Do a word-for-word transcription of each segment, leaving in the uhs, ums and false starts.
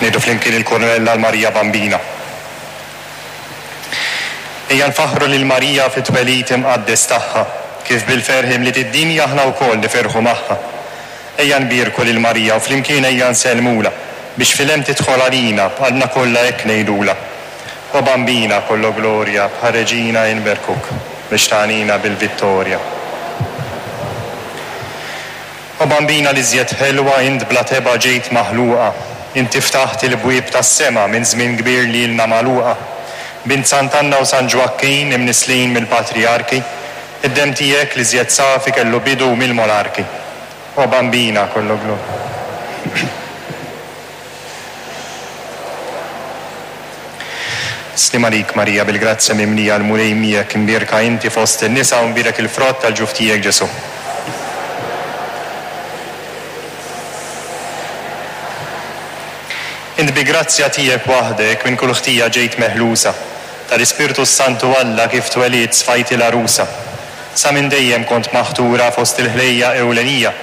Ngħidu flimkien il-Kornella l-Marija Bambina. Ejja nfaħħru lil Marija fit-twelid imqaddes tagħha, kif bil-ferħ imliet id-dinja aħna wkoll nifirħu magħha. Ejja nbierku lil Marija u flimkien ejja nsellmulha, biex fil-hemm tidħol għalina, b'qalbna kollha hekk ngħidulha. O Bambina kollo glorja, bħal reġina inberkuk, biex tagħnina bil-vittorja. O Bambina l-iżjed ħelwa, int bla tebgħa ġejt maħluqa, inti ftaħt il-bwieb tas-sema minn żmien kbir li ilna magħluqa. Bint Sant'Anna u San Ġwakkin imnisslin mill-patrijarki, id-demm tiegħek l-iżjed safi kellu bidu mill-monarki. O Bambina kollo glorja. Sliem għalik Marija, bil-grazzja mimlija, l-Mulej miegħek, imbierka inti fost in-nisa u mbierek il-frott tal-ġuf tiegħek Ġesù. Int bi grazzja tiegħek waħdek minn kull ħtija ġejt meħlusa, tal-Ispirtu s-Santu Alla kif twelidt sfajti l-għarusa. Sa minn dejjem kont maħtura fost il-ħlejja ewlenija,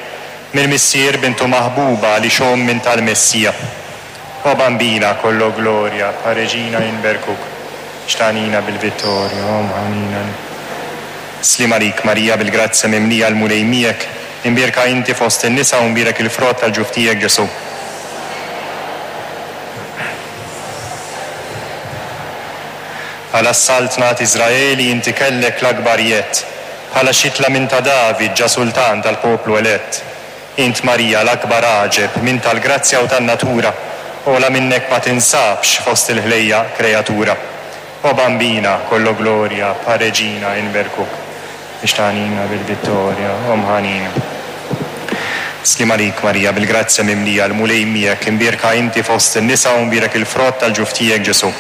mill-Missier bintu maħbuba li xomm minn tal-Messija. O Bambina kollo glorja, pa reġina inberkuk, xtanina bil-vittorja, o mħanina. Sliem għalik Marija, bil-grazzja mimlija, l-Mulej miegħek, imbierka inti fost in-nisa u mbierek il-frott tal-ġuf tiegħek Ġesù. Bħala s-saltna t'Iżraeli inti kellek l-akbar jedd, bħala xitla minn ta' David ġa sultan tal-poplu elett. Int Marija l-akbar għaġeb minn tal-grazzja u tan-natura, ola minnek ma tinsabx fost il-ħlejja kreatura. O Bambina kollo glorja, pa reġina inberkuk, biex tagħnina bil-vittorja, o mħanina. Sliem għalik Marija, bil-grazzja mimlija, l-Mulej miegħek, imbierka inti fost in-nisa u mbierek il-frott tal-ġuf tiegħek Ġesù.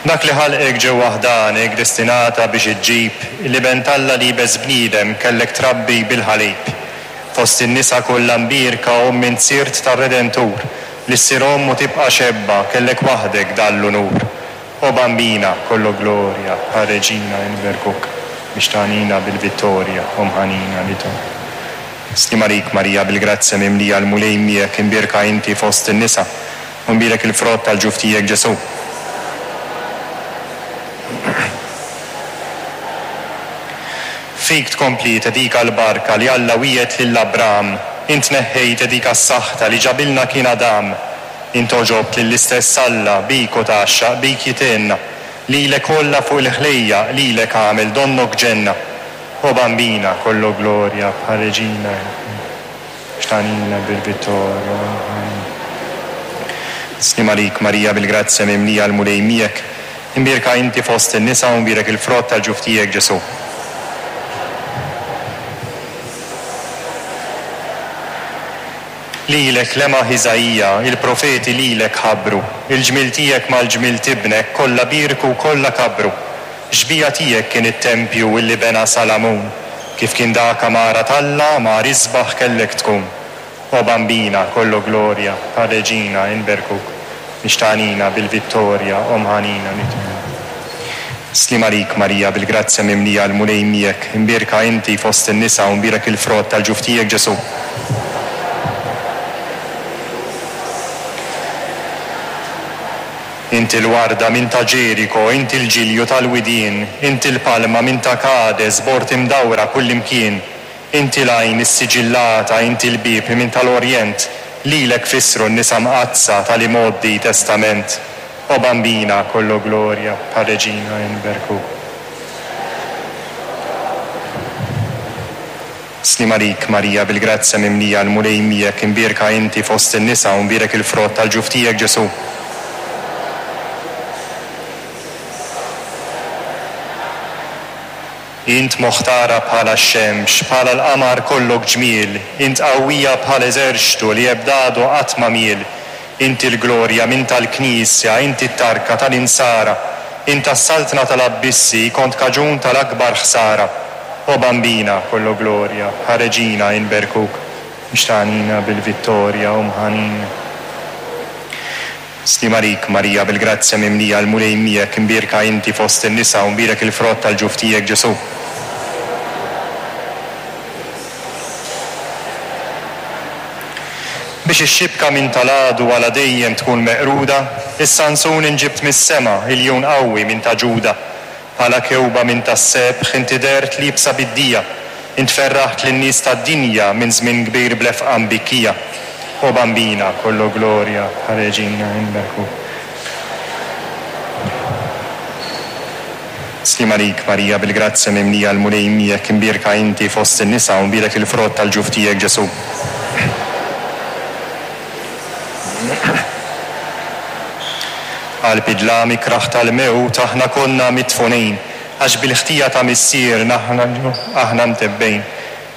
Dak li ħalqek ġewwa ħdanek destinata biex iġġib l-iben t'Alla li jbes bniedem kellek trabbi bil-ħalib. Fost in-nisa kollha mbierka omm int sirt tar-Redentur, li ssir omm u tibqa' xebba kellek waħdek dan l-unur. O Bambina kollo glorja, pa reġina inberkuk, biex tagħnina bil-vittorja, o mħanina li tom. Sliem għalik Marija, bil-grazzja mimlija, l-Mulej miegħek, imbierka inti fost in-nisa u mbierek il-frott tal-ġuf tiegħek Ġesù. Fik tkompli tedika l-barka li Alla wiegħed lil Abram, int neħħejt edika s-saħta li ġabilna kien Adam. Int oġobt lill-istess Alla, bik u tgħaxxaq, bik jitenna, lilek kollha fuq il-ħlejja, lilek għamel donnok ġenna. O Bambina kollo glorja, bħal reġina, xtanina bil-vittorja. Sliem għalik Marija, bil-grazzja mimlija, l-Mulej miegħek, imbierka inti fost in-nisa u mbierek il-frott tal-ġuf tiegħek Ġesù. Lilek lemaħ Iżaija, il-profeti lilek ħabbru, il-ġmiel tiegħek mal-ġmiel tibnek kollha bierku kollha kabru. Xbija tiegħek kien it-tempju illi bena Salamun, kif kien dak għamara t'Alla mar isbaħ kellek tkun. O Bambina kollo glorja, pa reġina inberkuk, biex tagħnina bil-vittorja, o mħanina nitmu. Sliem għalik Marija, bil-grazzja mimlija, l-Mulej miegħek, imbierka inti fost in-nisa u mbierek il-frott tal-ġuf tiegħek Ġesù. Inti l-warda minn ta' Ġeriko, inti l-ġilju tal-widien, inti l-palma minn ta' Kades, bort imdawra kullimkien, inti l-għajn issiġillata, inti l-bieb minn tal-Orjent, lilek fissru n-nisa mqaddsa tal-imgħoddi testament. O Bambina kollo glorja, pa reġina inberkuk. Sliem għalik Marija, bil-grazzja mimlija, l-Mulej miegħek, imbierka inti fost in-nisa u mbierek il-frott tal-ġuf tiegħek Ġesù. Int moħtara bħala x-xemx, bħala l-qamar kollok ġmiel, int qawwija bħal eżerċtu li ebdadu qatt ma miel. Inti l-glorja minn tal-Knisja, inti t-tarka tal-insara, int tas-saltna tal-abbissi, kont kaġun tal-akbar ħsara. O Bambina kollo glorja, bħal reġina inberkuk, biex tagħnina bil-vittorja, o mħanina. Sliem għalik Marija, bil-grazzja mimlija, l-Mulej miegħek, imbierka inti fost in-nisa u mbierek il-frott tal-ġuf tiegħek Ġesù. Biex ix-xibka minn tal-għadu għala dejjem tkun meqruda, is-Sansun inġibt mis-sema, iljun qawwi minn ta' Ġuda. Bħala kewba minn tas-sebħ inti dehrt liebsa bid-dija, int ferraħt lin-nies tad-dinja minn żmien kbir b'lefqa mbikkija. O Bambina, kollu glorja, Reġina inberkuk. Sliem għalik Marija, bil-grazzja mimlija l-Mulej miegħek, imbierka inti fost in-nisa u mbierek il-frott tal-ġuf tiegħek Ġesù. Qalb id-dlam ikraħ tal-mewt aħna konna midfunin, għax bil-ħtija ta' missierna aħna mtebbejn.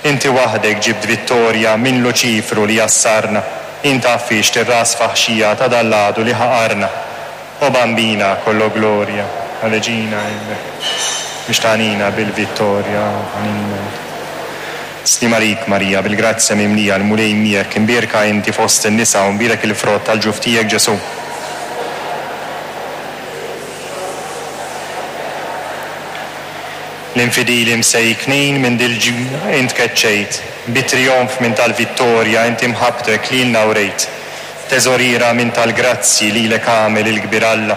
Inti waħdek ġibt vittorja minn Luċifru li jassarna, int għaffixt ir-ras faħxija ta' dal-għadu li ħaqarna. O Bambina, kollu glorja, Reġina biex tagħnina bil-vittorja. Sliem għalik Marija, bil-grazzja mimlija l-Mulej miegħek, imbierka inti fost in-nisa u mbierek il-frott tal-ġuf tiegħek Ġesù. L-infidili msejknin minn dil-ġ int keċċejt, bit-trionf minn tal-vittorja inti mħabbtek lilna wrejt. Teżoriera minn tal-grazzi lilek għamel il-kbir Alla,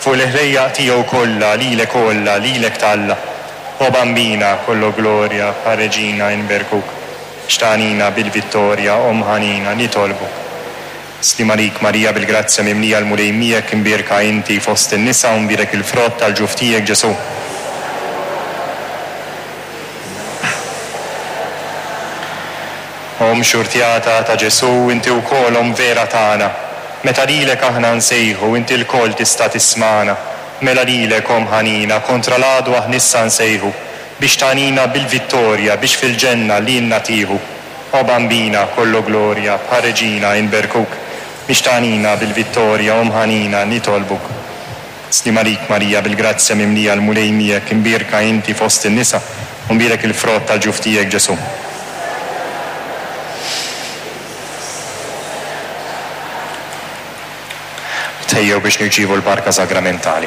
fuq l-ħlejjaq tiegħu kollha lilek kollha lilek talla. O Bambina, kollu glorja, Reġina inberkuk, xtanina bil-vittorja, Omm ħanina, nitolbuk. Sliem għalik Marija, bil-grazzja mimlija l-Mulej miegħek, imbierka inti fost in-nisa u mbierek il-frott tal-ġuf tiegħek Ġesù. Omm xurtjata ta' Ġesù, inti wkoll omm vera tagħna. Meta lilek aħna nsejħu, inti lkoll tista' tismagħna. Mela lilek omm ħanina, kontra l-għadu aħna issa nsejħu, biex tagħnina bil-vittorja, biex fil-ġenna lilna tieħu. O Bambina, kollu glorja, bħal Reġina inberkuk, biex tagħnina bil-vittorja, Omm ħanina, nitolbuk. Sliem għalik Marija, bil-grazzja mimlija l-Mulej miegħek, imbierka inti fost in-nisa, u mbierek il-frott tal-ġuf tiegħek Ġesù. Tejjew biex nirċievu l-barka sagramentali.